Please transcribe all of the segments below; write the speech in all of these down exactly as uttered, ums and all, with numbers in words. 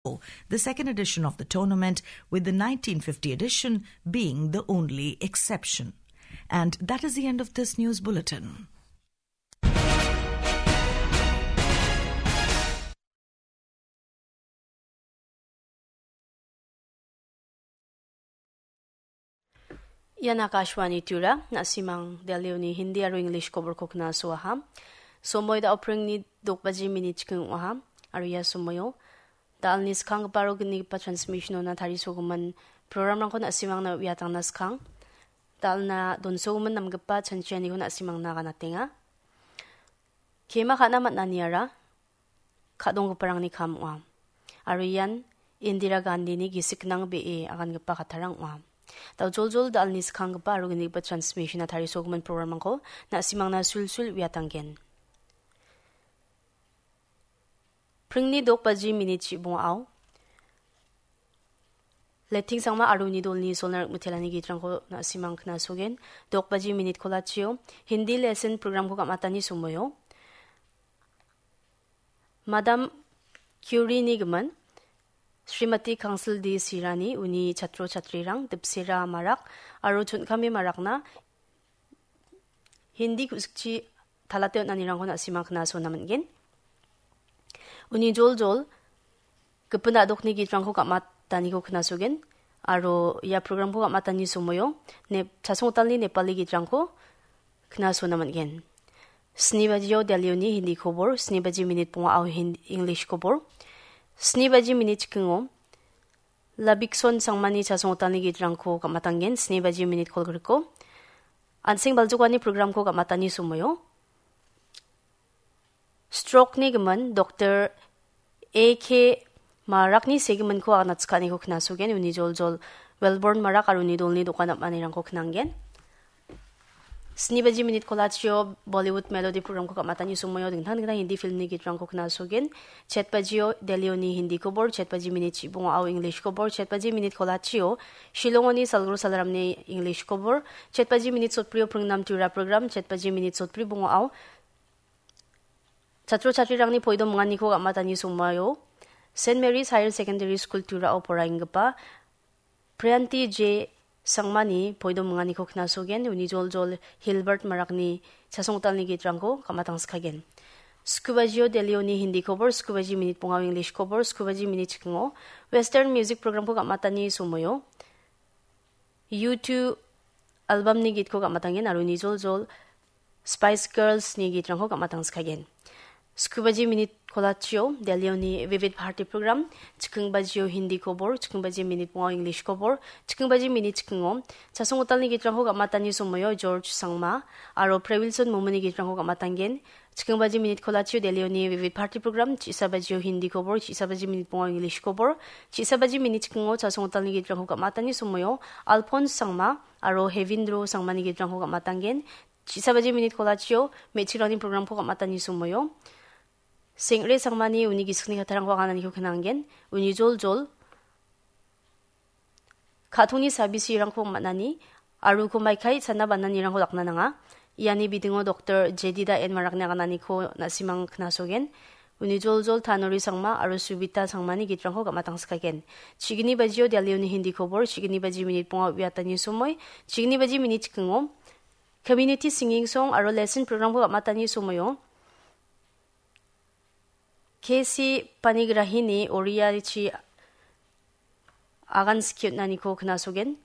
the second edition of the tournament, with the nineteen fifty edition being the only exception. And that is the end of this news bulletin. Ian Akashvani Tura, na·simang Delhioni Hindi aro English koborko knasoaha. Somoi da·o pringni dok baji minit chiking ong·aha, aro ia somoio da·alni skanggipa aro gnigipa transmissionona tarisogimin programrangko na·simangna uiatangna skang. Da·alna donsogimin namgipa chanchianiko na·simangna ganatenga. Kema ka·na man·aniara ka·donggiparangni kam ong·a. Aro ian Indira Gandhini gisik gnang be·e agangipa kattarang ong·a. Daojoljol da·alni skanggipa aro gnigipa transmissiona tarisogimin programrangko na·simangna sulsul uiatanggen. Pringni dok baji minit chibongao Letting Sangma aro uni dolni solna rik mitelani gitrangko na·simang knasogen. Dok baji minit kolachio Hindi lesson programko ka·matani somoio Madam Curie-ni gimin Srimati Kangsil D Sirani uni chatro chatrirang Dipsera Marak aro Chon·kame Marakna Hindi ku·sikchi talate on·anirangko na·sima knasona man·gen. Uni joljol gipin a·dokni gitrangko ka·mataniko knasogen aro ia programko ka·matani somoio Nep-, Chasongtalni Nepali gitrangko knasona man·gen. Sni bajio Delhioni Hindi kobor, sni baji minit bongao Hin-, English kobor. Sni baji minit chikingo Labikson Sangmani Chasongtalni gitrangko ka·matangen, sni baji minit kolgriko. An·seng baljokani programko ka·matani somoio Stroke-ni gimin Doktor A K Marakni segiminko anatchikaniko knasogen, uni joljol Welborn Marak aro uni dolni dokan am·anirangko knanggen. Sni baji minit kolachio Bollywood Melody programko ka·matani somoio dingtang dingtang Hindi filmni gitrangko knasogen. Chet bajio Delhioni Hindi kobor, chet baji minit chibongao English kobor, chet baji minit kolachio Shillongoni Salgro Salramni English kobor, chet baji minit sotbrio Pringnam Tura program, chet baji minit sotbri bongao Chatro chatrirangni poido minganiko ka·matani somoio Saint Mary's Higher Secondary School Turao poraenggipa Priyanti J Sangmani poido minganiko knasogen, uni joljol Hilbert Marakni Chasongtalni gitrangko ka·matangskagen. Skubajio Delhioni Hindi kobor, skubaji minit bongao English kobor, skubaji minit chikingo Western music programko ka·matani somoio U two albumni gitko ka·matangen aro uni joljol Spice Girlsni gitrangko ka·matangskagen. Skubaji minit kolachio Delhioni Vivid Bharati program, chikingbajio Hindi kobor, chikingbaji minit bongao English kobor, chikingbaji minit chikingo Chasongtalni gitrangko ka·matani somoio George Sangma aro Prewilson Momoni gitrangko ka·matangen. Chikingbaji minit kolachio Delhioni Vivid Bharati program, chisabaji-o Hindi kobor, chisabaji minit bongao English kobor, chisabaji minit chikingo Chasongtalni gitrangko ka·matani somoio Alphonse Sangma aro Hevindro Sangmani gitrangko ka·matanggen. Chisabaji minit kolachio me·chikrangni programko ka·matani somoio Sengre Sangmani uni gisikni kattarangko agananiko knanggen. Uni joljol Ka·tongni sabisirangko man·ani, aro uko maikai sana bananirangko dakna nanga. Iani bidingo Doktor Jedida N Marakni agananiko na·simang knasogen. Uni joljol Tanori Sangma aro Subita Sangmani gitrangko gam·atangskagen. Chigni bajio Delhioni Hindi kobor, chigni baji minit bonga uiatani somoi, chigni baji minit chikingo Community Singing Song aro Lesson Programko gam·atani somoio K C Panigrahini Oriachi agan skiutnaniko knasogen.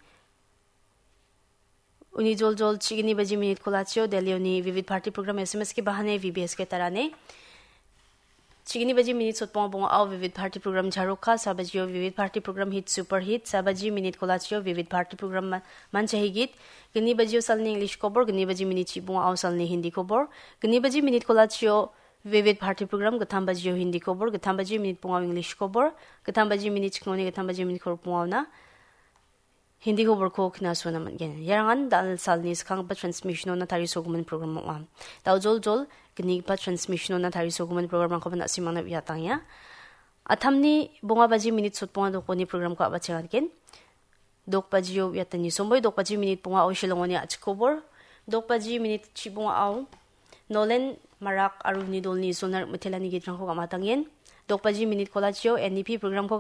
Uni joljol chigni baji minit kolachio Delhioni Vivid Bharati program S M S ke bahane V B S ke tarane. Chigni baji minit sotbonga bongao Vivid Bharati program Jharoka, sabajio Vivid Bharati program Hit Super Hit, sabaji minit kolachio Vivid Bharati program Ma-, Manchahigit, gni bajio salni English kobor, gni baji minit chibongao salni Hindi kobor, gni baji minit kolachio Vivid Bharati program, gittam bajio Hindi kobor, gittam baji minit bongao English kobor, gittam baji minit chikoni, gittam baji minit kor bongaona Hindi koborko knasona man·gen. Iarangan dal salni skanggipa transmissionona tarisogimin program ong·a. Dal joljol gnigipa transmissionona tarisogimin programrangkoba na·simangna uiatangenga. Atamni bonga baji minit sotbonga dokoni programko a·bachengatgen. Dok bajio uiatani somoi, dok baji minit bongao Shillongoni a·chik kobor, dok baji minit chibongao Nolen Marak aro uni dolni Isolna Rikmitelani gitrangko gam·atangen. Dokbaji minit kolachio N D P programko